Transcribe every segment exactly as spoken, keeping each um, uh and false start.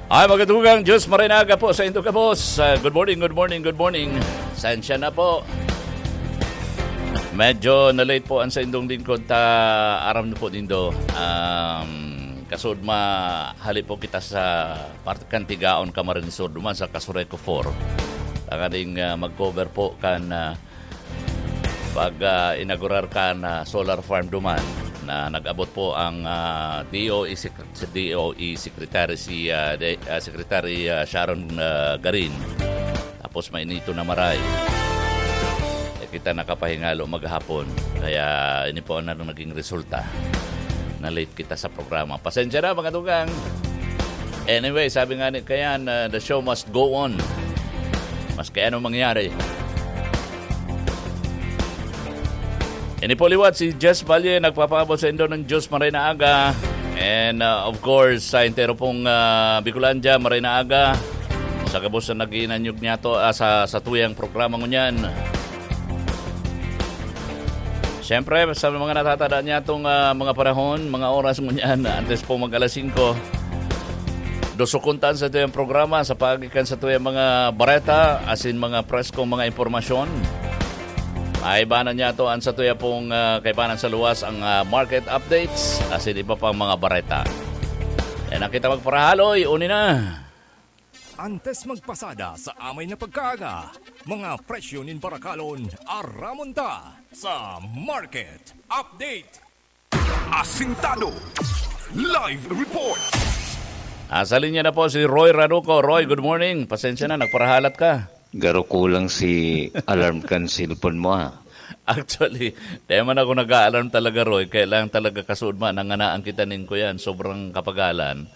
Ay, magandang Diyos, maray na aga po sa indo gabos. Ah, good morning, good morning, good morning. Sensya na po. Medyo na-late po ang sa indong lingkod ta aram na po nindo. Um, kasud ma hali po kita sa part kan Tigaon, Camarines Sur, duman sa Casureco four. Tanganing, ah, mag-cover po kan, ah, pag, ah, inaugurar kan, ah, solar farm duman na nag-abot po ang, ah, D O E sec-, sa D O E Secretary si, ah, de-, ah, Secretary, ah, Sharon, ah, Garin. Tapos mainito na maray. Eh, kita nakapahingalo maghapon. Kaya ini po ang naging resulta. Na-late kita sa programa. Pasensya na, mga tugang. Anyway, sabi nga ni Kayan, ah, "The show must go on." Maski anong mangyari. Ini po liwat si Jess Valle, nagpapaabot sa indo ng Diyos maray na aga. And, uh, of course, sa entero pong, uh, Bicolandia, maray na aga. Sa gabos na nag-iinanyog niya to, ah, sa, sa tuyang programa ngunyan. Siyempre, sa mga natatada niya itong, ah, mga panahon, mga oras ngunyan, antes po mag alas singko, dosukuntan sa tuyang programa sa paagi kan sa tuyang mga bareta, asin mga preskong mga impormasyon. Kaibanan niya to ang sa tuya pong, ah, kaibanan sa luwas ang, ah, market updates, asin iba pang mga bareta. Yan ang kita magparahaloy, uni na. Antes magpasada sa amay na pagkaaga, mga presyo nin barakalon, aramon ta sa Market Update. Asintado. Live report. Asa linya na po si Roy Raduco. Roy, good morning. Pasensya na, nagparahalat ka. Garo kulang si alarm kan cellphone mo, ha? Actually, di man ako nag-a-alarm talaga, Roy. Kaya lang talaga kasuod man, nanganaan kita nin kuyan. Sobrang kapagalan.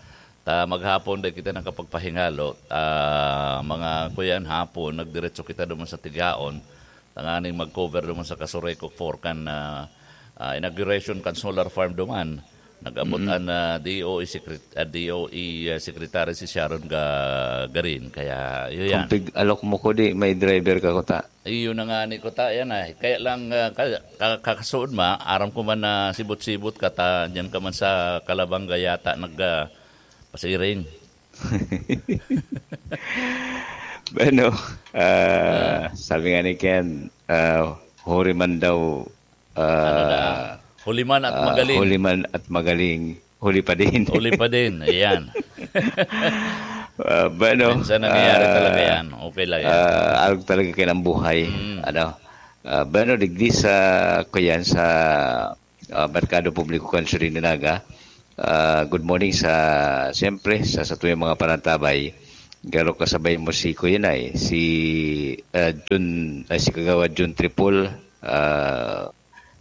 Ta maghapon, di kita nakapagpahingalo. Ta mga kuyan, hapon, nagdiretso kita duman sa Tigaon. Tanganing mag-cover duman sa Casureco four kan, ah, ah, inauguration kan solar farm duman. Nag-abot Mm. an, ah, D O E secret-, ah, D O E, ah, secretary si Sharon Ga-, Garin. Kaya, yun yan. Kung pig-alok mo ko, di, may driver ka kuta. Iyo na nga ni kuta, yan ay. Kaya lang, ah, ka-, ka-, kakasuod ma, aram ko man na sibot-sibot ka ta, diyan ka man sa Calabanga yata nag, ah, pasiring. Bueno, ah, Ah. sabi nga ni Ken, ah, huri man daw, Ano na? ah, Huli man at ah, magaling. huli man at magaling, huli pa din. Huli pa din, ayan. Ah, bueno, Minsan nangyayari ah, talaga yan. Okay lang yan. ah, arog talaga kayo ng buhay. Mm. Ano? Ah, bueno, digdi sa, kuyan, sa ah, Merkado Publiko kan Surinaga. Ah, good morning sa, siyempre, sa satuyang mga panantabay. Garo kasabay mo si Kuya Nay, si, ah, Jun, ay, si Kagawad Jun Tripol, ah,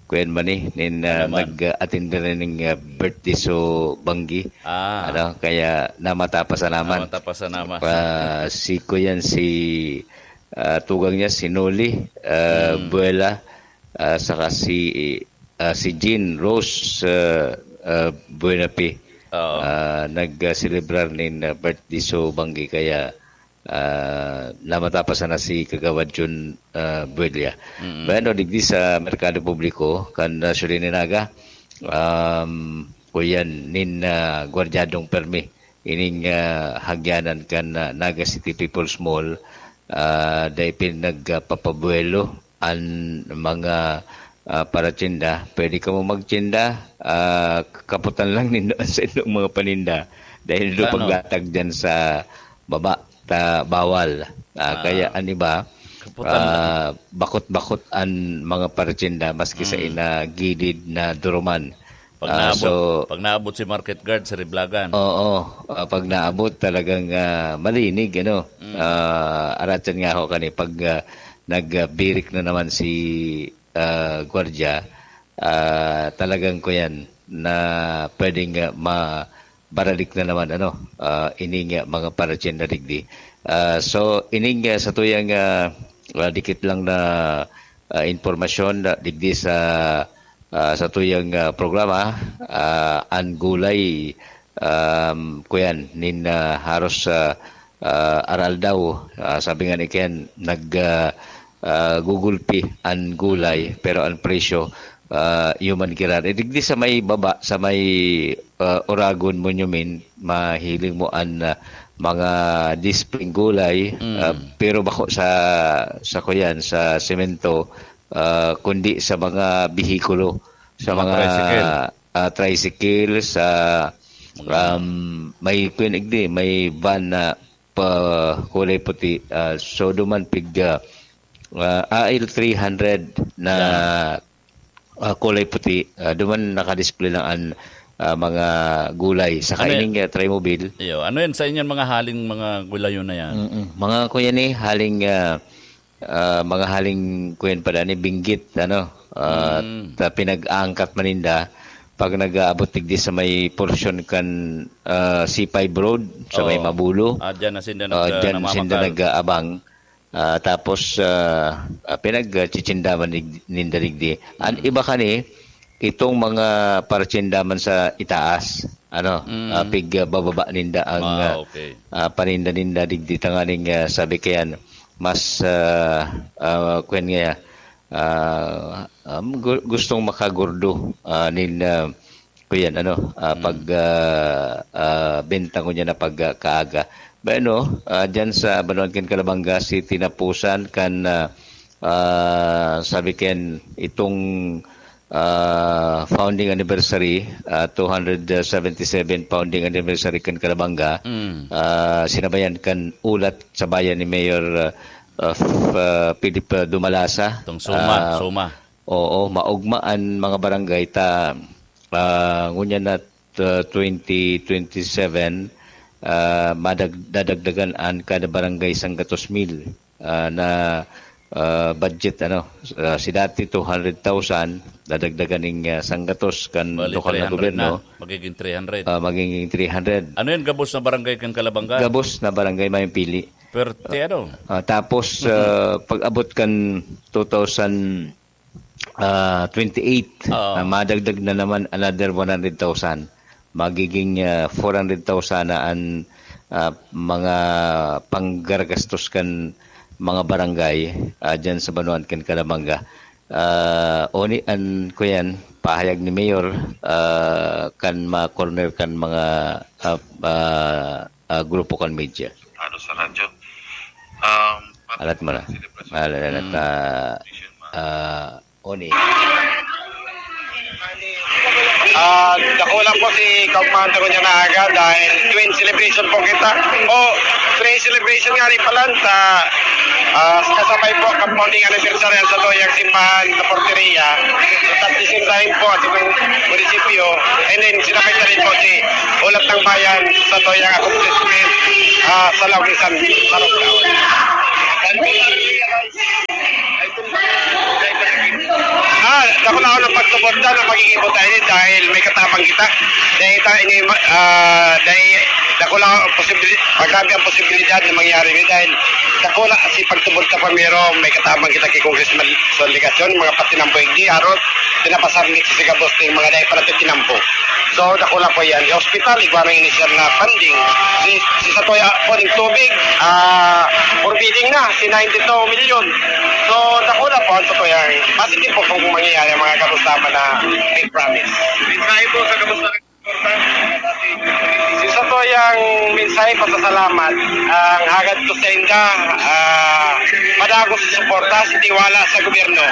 Kuya Manny, nin, ah, Ano man? nag-attend na rin ng, ah, birthday so Banggi. Ah. Ano, kaya namatapas na naman. Namatapas na naman. Ah, si Kuya, si, ah, tugang niya, si Noli, ah, Mm. Buela, ah, saka si, ah, si Jean Rose, ah, ah, Buenapi. Oo. Ah, nag-selebrar nin, ah, birthday so Banggi, kaya, ah, namatapas na si Kagawad Jun, ah, Buelia. Mm. Bueno, digdi sa Merkado Publiko, kan, ah, Surinaga, um, kuyan nin, ah, gwardyadong permi. Ining, ah, hagyanan kan, ah, Naga City People's Mall, ah, dai pinagpapabuelo an mga, ah, paratsinda. Pwede kamo magtsinda, ah, kaputan lang nindo an saindong mga paninda. Dahil do Ano? paglatag dyan sa baba, ta bawal. Ah, Ah, kaya an iba, kaputan lang. ah, bakot-bakot an mga paratsinda maski sa Mm. ina gilid na duruman. Pag Ah, naabot, so pag naabot si market guard sa Riblagan. Oo, ah, pag naabot talagang, ah, malinig, ano. Mm. Ah, aratsan nga ako kani pag, ah, nagbirik na naman si, ah, gwardiya, ah, talagang kuyan na pwedeng, ah, mabaralik na naman, ano, ah, ining, ah, mga paratsyenda digdi. Ah, so, ining, ah, sa tuyang, ah, ah, dikit lang na, ah, impormasyon na digdi sa ah, sa tuyang, ah, programa, ah, an gulay, um, kuyan, nin, ah, haros, ah, ah, aral daw, ah, sabi nga ni Ken, nag, ah, ah, gugulpi an gulay, pero ang presyo, ah, iyo man giran. Eh, digdi sa may baba, sa may, ah, Oragon Monument, mahiling mo an, ah, mga displing gulay, Mm. ah, pero bako sa, sa kuyan, sa semento, ah, kundi sa mga behikulo, sa Mga mga, tricycle. ah, tricycle, sa, Mga um, may kuyan igdi, may van na pa kulay puti. Ah, so, duman pig, ah, ah, A L three hundred na, Yan. ah, kulay puti. Ah, duman nakadisplay lang an, ah, mga gulay. Saka Ano yan? ining, ah, Trimobile. Iyo, ano yan sa inyong mga haling mga gulayon na yan? Mm-mm. Mga kuyan eh, haling, ah, ah, mga haling kuyan pala ni Benguet, ano, ah, Mm. ta-, pinag-aangkat maninda. Pag nag-aabot digdi sa may porsyon kan, ah, C five Road, sa may Oo. Mabulo. Ah, dyan na sinda Ah, nag-, dyan sinda namamakal. nag-aabang. Ah, tapos, ah, ah, pinagchichindaman nig-, ninda digdi. An Mm. iba kani, itong mga parchindaman sa itaas, ano, Mm. ah, pig, ah, bababa ninda ang, Ah, ah, okay. ah, paninda-ninda digdi tanganing, ah, sabi kayan, mas, ah, ah, kwan nga, ah, um, gu-, gustong makagurdo, ah, nin, ah, kuyan, ano, ah, Mm. pag, ah, ah, benta ko niya na pag, ah, kaaga. Bueno, ah, dyan sa Banwaan kan Calabanga, si tinapusan kan, ah, ah, sabi ken itong, ah, founding anniversary, ah, two hundred seventy-seven founding anniversary kan Calabanga, Mm. ah, sinabayan kan ulat sa bayan ni Mayor, ah, ah, F-, ah, Philip, ah, Dumalasa. Itong Soma, Ah, Soma. Oo, maugma an mga barangay ta, ah, ngunyan na, ah, twenty twenty-seven, ah, madag-, dadagdagan an kada barangay sanggatos mil, ah, na, ah, budget, ano, ah, si dati two hundred thousand, dadagdagan ning, ah, sanggatos kan Bali, lokal na three hundred gobyerno. na. Magiging three hundred. Ah, magiging three hundred. Ano yan, gabos na barangay kan Calabanga? Gabos na barangay may pili. Perte, ano? Ah, tapos, Mhm. ah, pag-abot kan two thousand, ah, twenty-eight, Oo. ah, madagdag na naman another one hundred thousand. Magiging, ah, four hundred thousand na an, ah, mga panggagastos kan mga barangay, ah, dyan sa Banwaan kan Calabanga. Ah, oni an, kuyan, pahayag ni Mayor, ah, kan ma-corner kan mga, ah, ah, ah, grupo kan media. Ano sa radyo? Um, Alat mo na. Selebrasyon. Alat, alat, Mm. ah, ah, Oni. Ah, dakula po si Kaugmahan ta ngunyan na aga dahil twin celebration po kita. O, three celebration nga rin pala sa, ah, kasabay po ang founding anniversary sa Toyang Simbahan sa Porteria. At the same time po, at itong munisipyo. And then, sinabay na rin po si Ulat ng Bayan sa Toyang accomplishment, ah, sa Laog ni San Marong Taon. Ah, dakula ako ng pagsuporta ng magiging butay dahil may katabang kita. Dahil ta-, ini, ah, dahil dakula ang posibil-, grabe ang posibilidad na mangyari ni dahil dakula si pagsuporta pamero, may katabang kita kay Congressman Son Legacion, mga patinampo hindi, aron pinapasabit si Gabos ng mga dahil para tinampo. So, dakula po yan. Yung hospital, igwa ng initial na funding. Si, si Satoya po, yung tubig, ah, forbidding na, si ninety-two million. So, dakula po ang Satoya. Positive po kung mangyayari ang mga karusaman na may promise. Mensahe po sa kamusta? Si Satoya ang mensahe pasasalamat. Ang hagad ko sa inda, ah, madagos sa suporta, si tiwala sa gobyerno.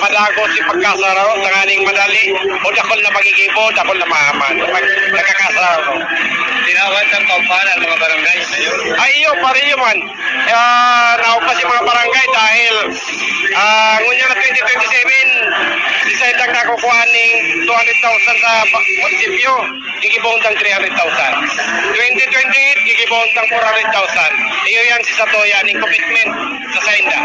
Madagos si pagkasaro, tanganing madali, o dakol na magigibo, dakol na maaman. Pag nagkakasaro. Tinawag ng kampanan ang mga barangay. Ay, iyo, pare, iyo man. Ah, naog pa si mga barangay dahil, ah, ngunyan na twenty twenty-seven, si Sendang nakukuha ning two hundred thousand sa ba-, munisipyo. Gigibong tang three hundred thousand. Twenty twenty-eight, gigibong tang four hundred thousand. Iyo yan si Satoya, ning commitment sa Senda.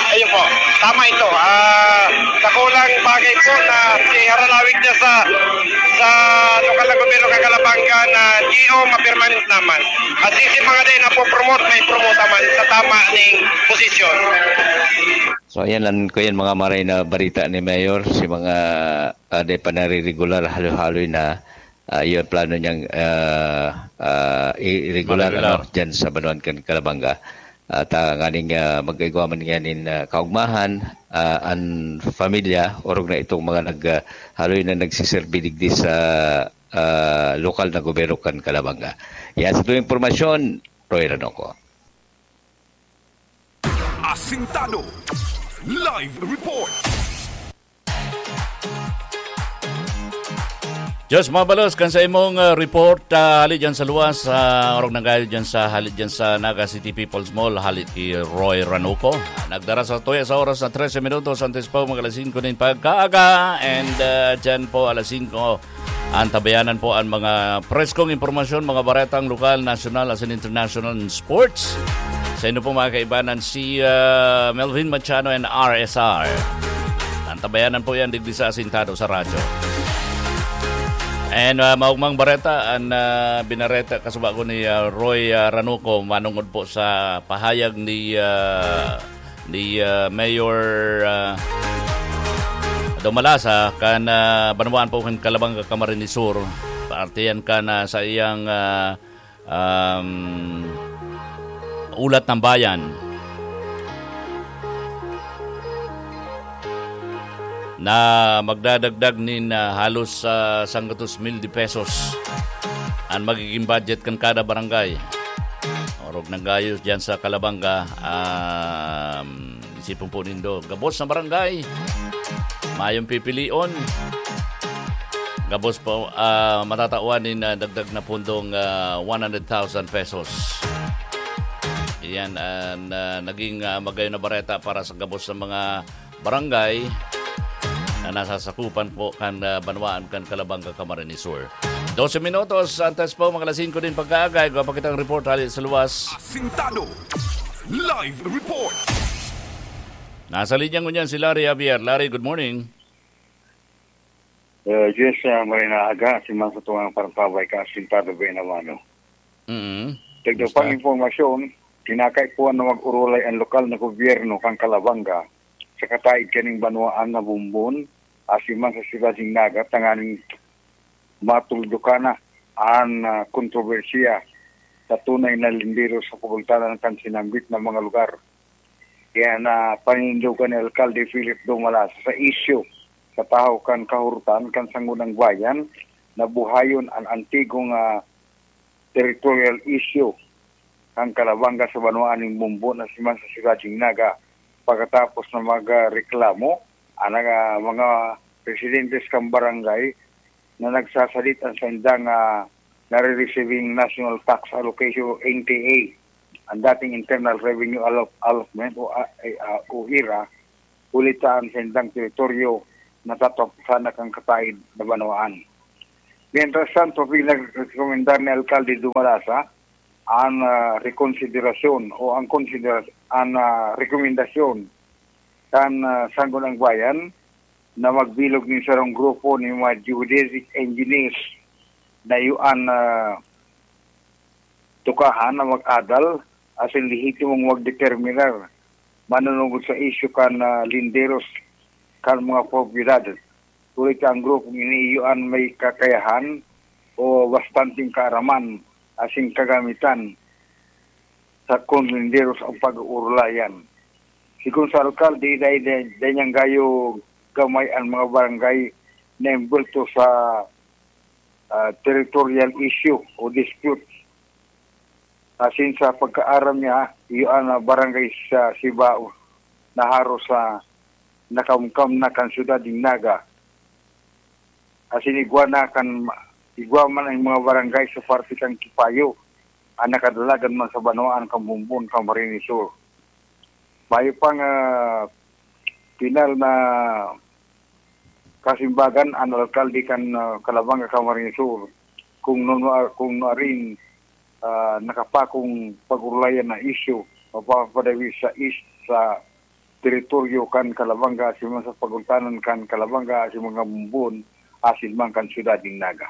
Ayun po, tama ito. Ah, dakulang bagay po na si Haralawig na sa, sa lokal na gobyerno kan Calabanga na G O, mapirmanis naman. At si, si mga day na po promote, may promote naman sa tama ning posisyon. So, ayan lang, kuyan, mga maray na balita ni Mayor, si mga, ah, day pa nariregular, halo-haloy na, ah, yung plano niyang, ah, ah, i-regular, Maregular. ano, dyan sa Banuan kan Calabanga. At, ah, nganing, ah, mag-igwa man niya nin, ah, kaugmahan, ah, an pamilya, orog na itong mga nag, ah, haloy na nagsiserbi digdi sa, ah, lokal na gobyerno kan Calabanga. Yan sa tuwing impormasyon, Roy Ranoco. Asintado. Live report. Diyos mabalos kan sa imong, ah, report, ah, hali dyan sa luwas, ah, orog nanggayo dyan sa, hali dyan sa Naga City People's Mall, hali ki Roy Ranuco. Nagdara sa tuya sa oras na trese minutos, antes po mag alas singko nin pagkaaga, and, ah, dyan po alas singko, antabayanan po ang mga preskong impormasyon, mga baretang lokal, nasyonal, asin international sports. Sa inyo po mga kaibanan, si, ah, Melvin Machado and R S R. Antabayanan po yan, digdi sa Asintado sa Radyo. And, ah, maugmang bareta, an, ah, binareta kasuba ko ni, ah, Roy, ah, Ranuco, manungod po sa pahayag ni, ah, ni, ah, Mayor, ah, Domalasa, kan, ah, banwaan po kan Calabanga, Camarines Sur. Parte yan kan, ah, sa iyang, ah, um, ulat ng bayan na magdadagdag nin, ah, halos, ah, sanggatos mil de pesos an magiging budget kan kada barangay. Orog nanggayo diyan sa Calabanga, um, isipon po nindo, gabos na barangay, mayong pipilion. Gabos po, ah, matatawan nin, ah, dagdag na pundong, ah, one hundred thousand pesos. Iyan an, ah, naging, ah, magayon na bareta para sa gabos sa mga barangay na nasasakupan po kan, ah, banwaan kan Calabanga, Camarines Sur. Dose minutos, antes po mga alas singko nin pagkaaga, igwa pa kitang report hali sa luwas. Asintado. Live report. Nasa linya ngunyan si Larry Javier. Larry, good morning. Uh, Diyos, uh, maray na aga, si Mang sa tungang partabay ka, asintado ba na mano? Mm. Dagdag pang impormasyon, kinakaipuhan na mag-urulay ang lokal na gobyerno kan Calabanga sa kataid kaning banwaan na Bumbon, asin man sa siyudad nin Naga, tanganing matuldukan na an, ah, kontrobersiya sa tunay na lindero sa pagultanan kan sinambit na mga lugar. Kaya na paninindogan ni Alkalde Philip Dumalas sa isyu sa tahaw kan kahorotan kan Sangguniang Bayan na buhayon an antigong, ah, territorial issue kan Calabanga sa banwaan nin Bumbon asin man sa siyudad nin Naga, pagkatapos na magreklamo an, ah, mga residentes kan barangay na nagsasadit an saindang, ah, nare-receiving National Tax Allocation, N T A, an dating Internal Revenue Allot-, Allotment o, ah, eh, ah, o ira, huli ta an saindang teritoryo natataposan na kan kataid na banwaan. Mientras tanto, pinagrekomendar ni Alkalde Dumalasa an, ah, rekonsiderasyon o ang konsidera-, an, ah, rekomendasyon kan, ah, Sangguniang Bayan na magbilog nin sarong grupo nin mga geodetic engineers na iyo an, ah, tukahan na mag-adal asin lehitimong magdeterminar manunungod sa isyu kan, ah, linderos kan mga propiedad. Huli ta ang grupong ini iyo an may kakayahan o bastanteng kaaraman asin kagamitan sa kon linderos ang pag-uurulayan. Sigon sa alkalde, dai, dai, dai niyang gayo gamay ang mga barangay na embwelto sa, ah, territorial issue o dispute. Asin sa pagkaaram niya, iyo an, ah, barangay sa Sibao na haros sa nakamkam na kan siyudad nin Naga. Asin igwa na kan, igwa man ang mga barangay sa parte kan Kipayo, an nakadalagan man sa banwaan kan Bumbon, Camarines Sur. Mayo pang, ah, pinal na kasimbagan an alkalde kan, ah, Calabanga, Camarines Sur, kung nuno-, kung nuarin, ah, nakapakong pag-urulayan na isyu, mapapadawis sa east sa teritoryo kan Calabanga, asin man sa pagultanan kan Calabanga, asin mga Bumbon, asin man kan siyudad nin Naga.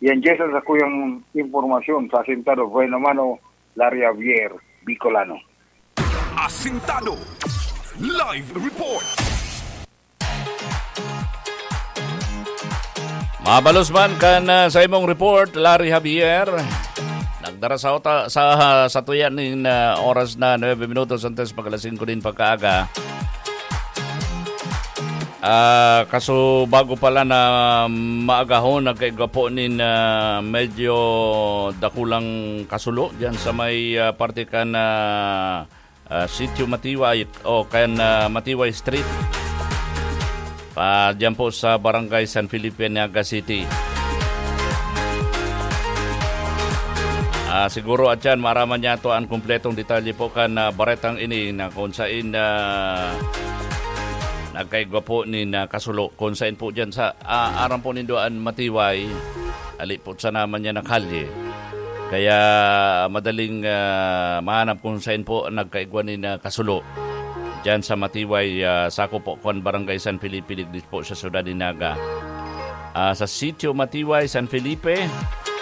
Yan, Jess, ang sakuyang impormasyon sa Asintado. Buhay naman o Larry Javier, Bicolano. Asintado. Live report. Mabalos man kan, ah, sa imong report, Larry Javier. Dara sa ota-, sa, sa tuya nin, ah, oras na nuebe minutos antes mag alas singko nin pagkaaga. Ah, kaso bago pala na maagahon, nagkaigwa po nin, ah, medyo dakulang kasulo diyan sa may, ah, parte kan, ah, ah, Sitio Matiway o kan, ah, Matiway Street. Pa, diyan po sa Barangay San Felipe, Naga City. Ah, siguro, atyan, maaraman niya to an kumpletong detalye po kan, ah, baretang ini na kung sain, ah, nagkaigwa po nin, ah, kasulo. Kung sain po diyan sa, ah, aram po nindo an Matiway, ali po sana man niya na kalye. Kaya madaling, ah, mahanap kung sain po nagkaigwa nin, ah, kasulo. Diyan sa Matiway, ah, sako po kan Barangay San Felipe, digdi po sa siyudad ni Naga. Ah, sa Sitio Matiway, San Felipe,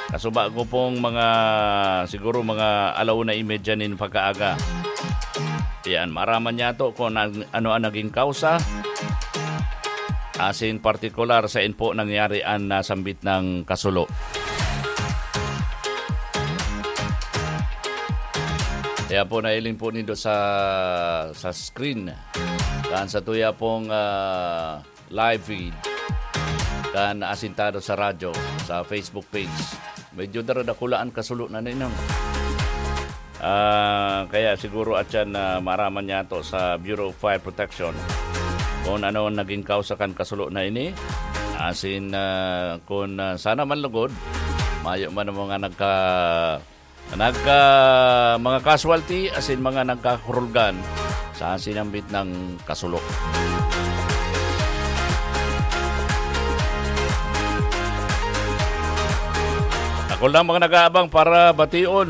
kasuba ko pong mga, siguro mga alauna y media nin pagkaaga. Yan, maaraman niya to kung an-, ano ang naging kausa. Asin partikular sain po nangyari an nasambit na kasulo. Kaya po, nailing po nindo sa, sa screen. Kan sa tuya pong, ah, live feed. Kan Asintado sa Radyo, sa Facebook page. Medyo daradakula an kasulo na ninong. Ah, kaya siguro atyan na maaraman niya to sa Bureau of Fire Protection kung ano ang naging kausa kan kasulo na ini. Asin, ah, kung, ah, sana man lugod, mayo man ang mga nagka-, nagka-, mga casualty, asin mga nagkakurulgan sa sinambit na kasulo. Ako lang mga nag-aabang para bation,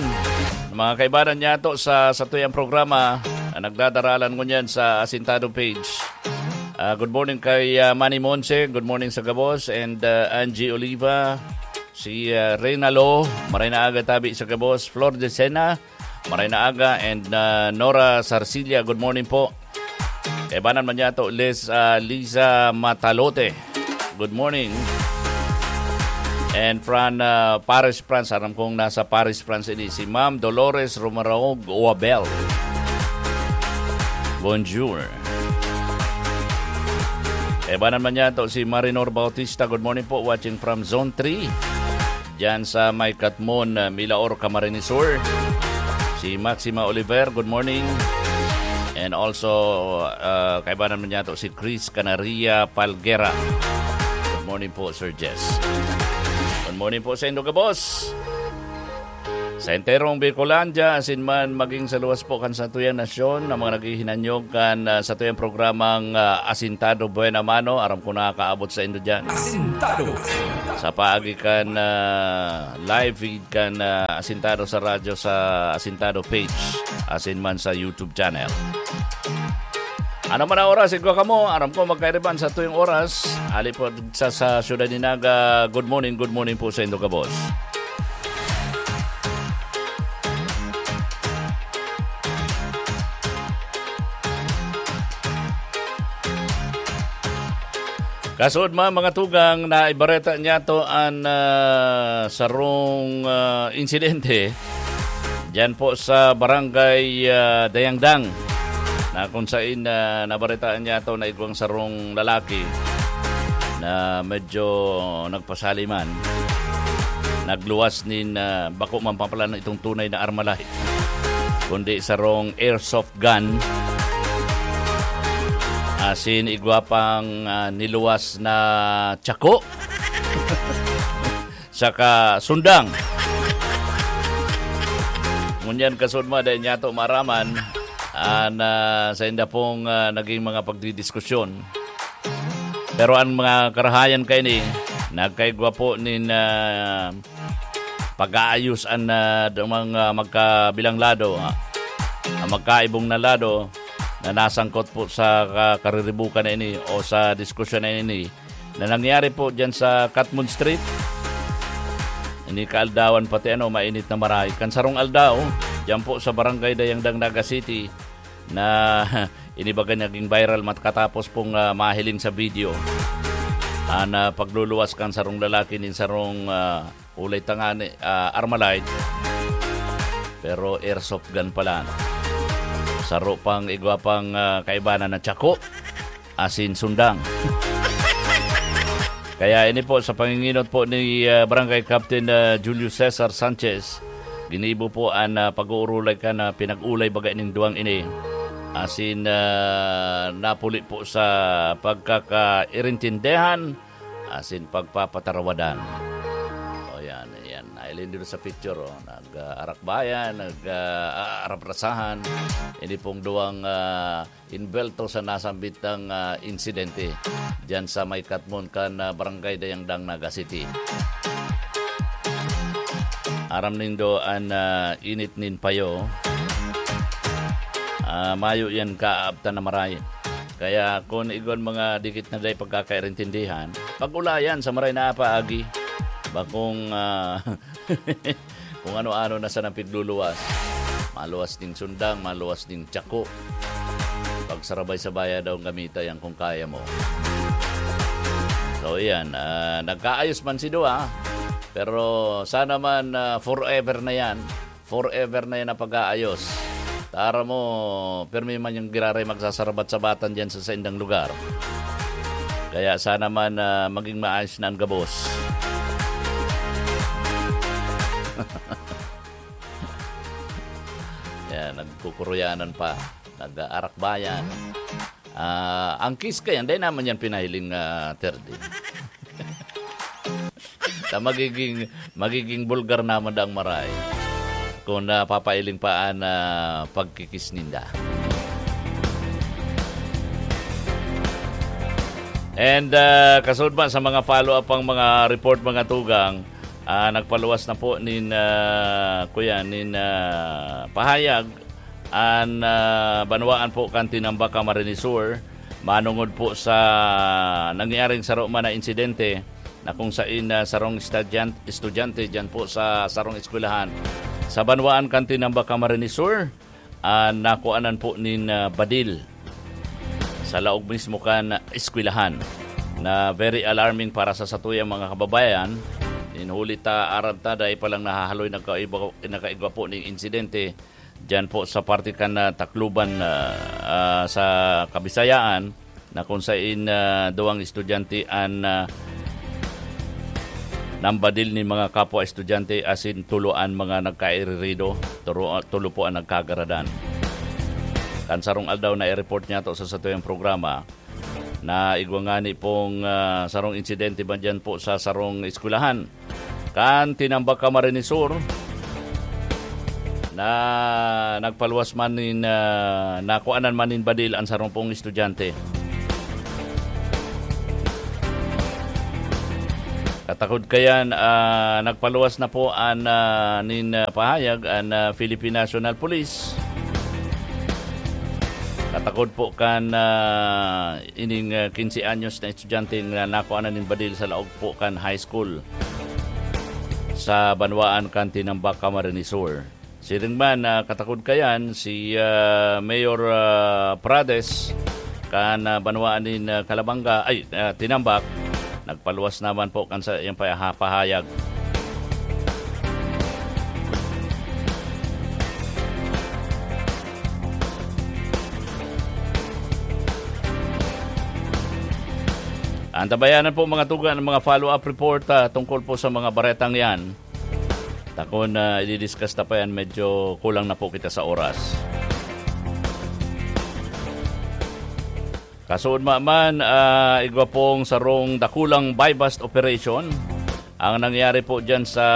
mga kaibanan niya to sa satuyang programa na nagdadaralan ngunyan sa Asintado page. Ah, good morning kay, ah, Manny Monse. Good morning sa gabos. And, ah, Angie Oliva, si, ah, Reyna Lo, maray na aga tabi sa gabos. Flor Decena, maray na aga. And, ah, Nora Sarcilia, good morning po. Kaibanan man niya to, Liz, ah, Liza Matalote. Good morning. And from, ah, Paris, France. Aram kong nasa Paris, France ini si Ma'am Dolores Romaraog Oabel. Bonjour. Kaibanan man niya to si Marinor Bautista. Good morning po, watching from Zone three. Diyan sa may Katmon, uh, Milaor, Camarines Sur. Si Maxima Oliver, good morning. And also, uh, kaibanan man niya to si Chris Canaria Palguera. Good morning po, Sir Jess. Good morning po sa indo gabos. Sa enterong Bicolandia, asin man maging sa luwas po kan satuyang nasyon, na mga naghihinanyog kan, ah, satuyang programang, ah, Asintado Buena Mano, aram ko nakakaabot sa indo dyan. Asintado. Sa paagi kan, ah, live feed kan, ah, Asintado sa radyo, sa Asintado page, asin man sa YouTube channel. Ano man ang oras, igwa kamo, aram ko magkairiban sa tuyong oras. Ali po sa, sa siyudad ni Naga, good morning, good morning po sa indo gabos. Kasuod man, mga tugang, na ibareta niya to an, ah, sarong, ah, insidente diyan po sa barangay, ah, Dayangdang, na kung sain, ah, nabaritaan niya to na igwang sarong lalaki na medyo nagpasali man, nagluwas nin, ah, bako man pa pala na itong tunay na Armalite, kundi sarong airsoft gun. Asin igwa pang, ah, niluwas na tsako. Saka sundang. Ngunyan kasudma, dahil niya to maraman, ah, na sa inda pong, ah, naging mga pagdidiskusyon. Pero ang mga karahayan kaini, nagkaigwa po nin, ah, pag-aayos an, ah, mga magkabilang lado, ah, ang magkaibong na lado na nasangkot po sa ka-, kariribukan na ini o sa diskusyon na ini na nangyari po diyan sa Katmon Street. Ini kaaldawan pati ano, mainit na maray. Kan sarong aldaw, diyan po sa Barangay Dayangdang, Naga City, na inibaga naging viral matkatapos pong, ah, mahiling sa video. An, ah, pagluluwas kan sarong lalaki nin sarong, ah, ulay tangani, ah, Armalite. Pero airsoft gun pala. Saro pang igwa pang, ah, kaibanan na tsako asin sundang. Kaya ini po, sa panginginot po ni, ah, Barangay Captain, ah, Julio Cesar Sanchez, ginibo po an, ah, pag-uurulay kan, ah, pinag-ulay baga ning duwang ini. Asin, ah, napuli po sa pagkakairintindihan asin pagpapatarawadan. O, yan, yan. Nailindol sa picture, oh. Nag-aarakbayan, nag-aaraprasahan. Ini pong duwang, ah, inbelto sa nasambitang, ah, insidente diyan sa may katmon kan, ah, Barangay Dayangdang, Naga City. Aram nindo an, ah, init nin payo. Ah, mayo yan kaabtan na maray. Kaya kun igwan mga dikit na day pagkakaintindihan, pag-ulayan sa maray na paagi, bakong, ah, kung ano-ano na sa napigluluwas. Maluwas ding sundang, maluwas ding tsako. Pagsarabay-sabaya daw gamita yan kung kaya mo. So, yan. Ah, nagkaayos man si Dua, pero sana man, ah, forever na yan. Forever na yan ang pag-aayos. Tara mo, pirmi man yung giraray magsasarabat-sabatan dyan sa saindang lugar. Kaya sana man, ah, maging maayos na ang gabos. Yan, nagkukuruyanan pa. Nag-aarakbayan. Ah, ang kiss kayan, dai naman yan pinahiling, ah, third, eh. Ta magiging, magiging bulgar naman dang maray kung napapailing pa an, ah, pagkikis ninda. And, ah, kasunod pa sa mga follow-up pang mga report, mga tugang, ah, nagpaluwas na po nin, ah, kuya, nin, ah, pahayag an, ah, banwaan po kan Tinambac, Camarines Sur, manongod po sa nangyaring saro man na insidente na kung sain, ah, sarong estudyan-, estudyante diyan po sa sarong eskwelahan sa banwaan kan Tinambac, Camarines Sur, ah, nakuanan po nin, ah, badil sa laog mismo kan eskwelahan na very alarming para sa satuyang mga kababayan. Nin huli ta, aram ta, dai pa lang nahahaloy nagkaiba-, nakaigwa po ning insidente diyan po sa parte kan, ah, Tacloban, ah, ah, sa Kabisayaan, na kung sain, ah, duwang estudyante an, ah, nambadil nin mga kapwa estudyante asin tulo an mga nagkairirido, turo-, tulo po an nagkagaradan. Kan sarong aldaw na i-report niyato sa satuyang programa, na igwa ngani pong, ah, sarong insidente man diyan po sa sarong eskwelahan kan Tinambac, Camarines Sur, na nagpaluwas man nin, ah, nakuanan man nin badil an sarong pong estudyante. Katakod kayan, ah, nagpaluwas na po an, ah, nin, ah, pahayag an, ah, Philippine National Police. Katakod po kan, ah, ining, ah, quince anyos na estudyante na nakuha na nin badil sa laog po kan high school sa banwaan kan Tinambac, Camarines Sur. Siring man, ah, katakod kayan, si, ah, Mayor, ah, Prades kan, ah, banwaan nin, ah, Calabanga, ay, ah, Tinambac, nagpaluwas naman po kan sa iyang paha-, pahayag. Antabayanan po, mga tugang, ang mga follow-up report, ah, tungkol po sa mga baretang yan. Takon na i-discuss ta pa yan, medyo kulang na po kita sa oras. Kasuodma man, ah, igwa pong sarong dakulang buy-bust operation ang nangyari po dyan sa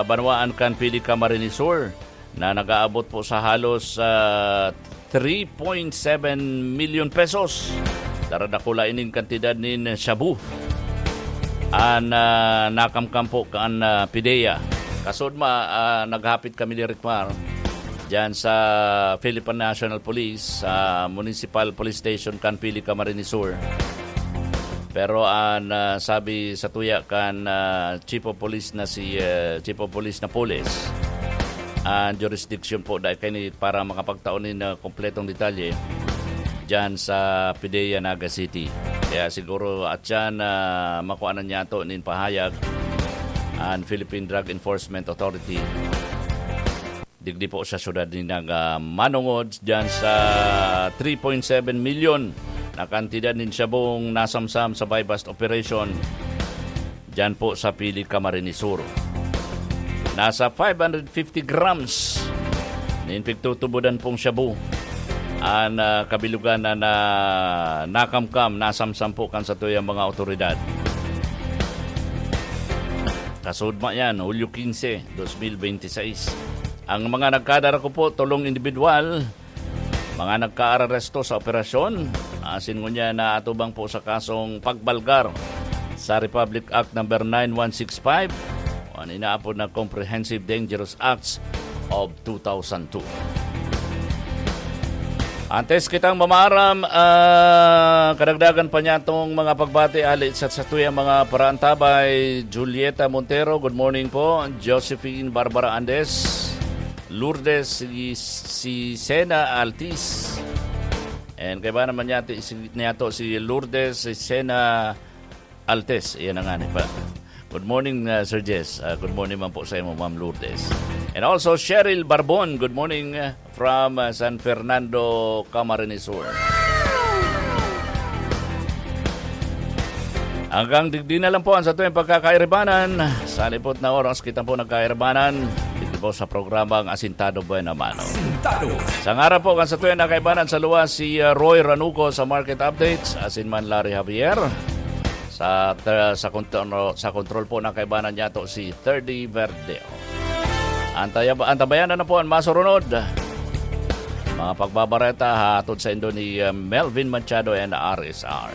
banwaan kan Pili, Camarines Sur, na nag-aabot po sa halos, ah, three point seven million pesos. Daradakula ining kantidad nin shabu an, ah, nakamkam po kan, ah, PDEA. Kasuodma, ah, naghapit kami ni Ricmar diyan sa Philippine National Police, sa Municipal Police Station kan Pili, Camarines Sur. Pero an, ah, sabi sa tuya kan, ah, Chief of Police na si, ah, Chief of Police Napoles, an jurisdiction po dai kaini para makapagtao nin, ah, kompletong detalye diyan sa PDEA Naga City. Kaya siguro at yan, ah, makuha na niya to nin pahayag an Philippine Drug Enforcement Authority. Digdi po sa syudad ni Naga manongod diyan sa three point seven milyon na kantidad nin shabong nasamsam sa buy-bust operation diyan po sa Pili, Camarines Sur. Nasa five hundred fifty grams nin pigtutubodan pong shabu an, ah, kabilugan na, na nakamkam, nasamsam po kan satuyang mga awtoridad. Kasudma yan, Hulyo quince, dos mil bente seis. Ang mga nagkadarako po, tolong indibidwal, mga nagkaaresto sa operasyon, asin ngunyan naatubang po sa kasong pagbalgar sa Republic Act Number nine one six five, o ang inaapod na Comprehensive Dangerous Acts of two thousand two. Antes kitang mamaaram, ah, kadagdagan pa niya itong mga pagbati, ali sa satuyang mga paraantabay. Julieta Montero, good morning po. Josephine Barbara Andes, Lourdes, si, si Sena Altis. And kaiba naman niya, si, niya to, si Lourdes, si Sena Altes, iyan na nga ni pa. Good morning, uh, Sir Jess. Uh, good morning man po sa imo, Ma'am Lourdes. And also, Cheryl Barbon, good morning, uh, from, uh, San Fernando, Camarines Sur. Hanggang digdi na lang po ang satuyang pagkakairibanan. Sa lipot na oras, kita po nagkairibanan. Dito po sa programang Asintado Buena Mano. Asintado. Sa ngaran po kan satuyang nakaibanan sa luwas, si, uh, Roy Ranuco sa Market Updates, asin man Larry Javier. Sa, sa kontro-, sa kontrol po ng kaibanan niya to si Thirdy Verdeo. Antaya-, antabayanan na po ang masurunod. Mga pagbabareta hatod sa indo ni, uh, Melvin Machado and R S R.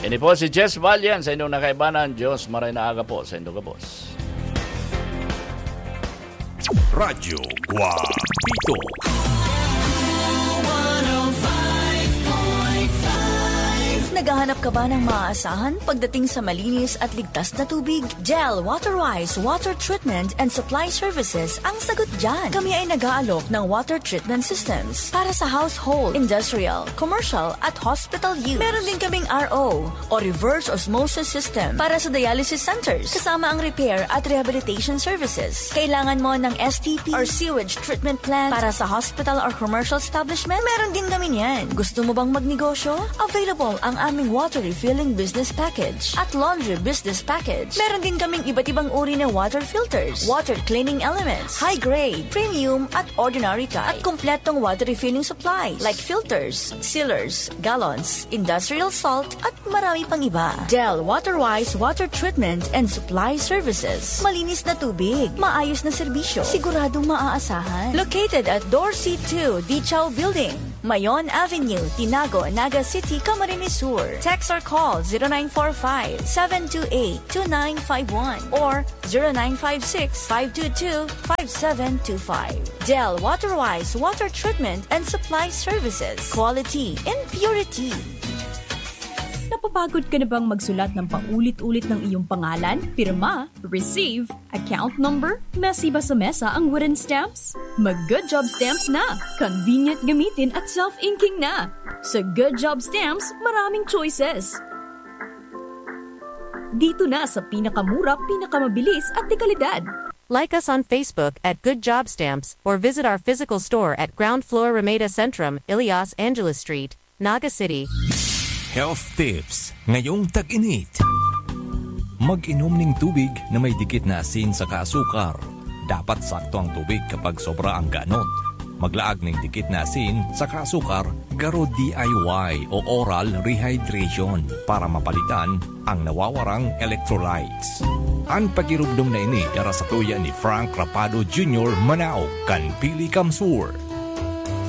Ini po si Jess Valian sa inyong nakaibanan. Diyos, maray na aga po sa indo gabos. Radyo Guapito. Naghahanap ka ba ng maaasahan pagdating sa malinis at ligtas na tubig? Del Waterwise Water Treatment and Supply Services ang sagot dyan. Kami ay nag-aalok ng water treatment systems para sa household, industrial, commercial, at hospital use. Meron din kaming R O o reverse osmosis system para sa dialysis centers, kasama ang repair at rehabilitation services. Kailangan mo ng S T P or sewage treatment plant para sa hospital or commercial establishment? Meron din kami niyan. Gusto mo bang magnegosyo? Available ang aming water refilling business package at laundry business package. Meron din kaming iba't ibang uri ng water filters, water cleaning elements, high grade, premium at ordinary type, at kompletong water refilling supplies like filters, sealers, gallons, industrial salt, at marami pang iba. Del Waterwise Water Treatment and Supply Services. Malinis na tubig, maayos na serbisyo, siguradong maaasahan. Located at Dorsey two, Dichaw Building, Mayon Avenue, Tinago, Naga City, Camarines Sur. Text or call zero nine four five, seven two eight, two nine five one or zero nine five six, five two two, five seven two five. Del Waterwise Water Treatment and Supply Services. Quality in purity. Napapagod ka na bang magsulat ng paulit-ulit ng iyong pangalan, pirma, receive, account number? Messy ba sa mesa ang wooden stamps? Mag Good Job Stamps na! Convenient gamitin at self-inking na! Sa Good Job Stamps, maraming choices. Dito na sa pinakamura, pinakamabilis at dekalidad. Like us on Facebook at Good Job Stamps or visit our physical store at ground floor Ramada Centrum, Elias Angeles Street, Naga City. Health tips ngayong tag-init. Mag-inom ning tubig na may dikit na asin saka asukar. Dapat sakto ang tubig kapag sobra ang ganot. Maglaag ning dikit na asin saka asukar, garo D I Y o oral rehydration para mapalitan ang nawawarang electrolytes. An pagirugdong na ini dara sa tuya ni Frank Rapado Junior, Manaog, kan Pili, Camsur.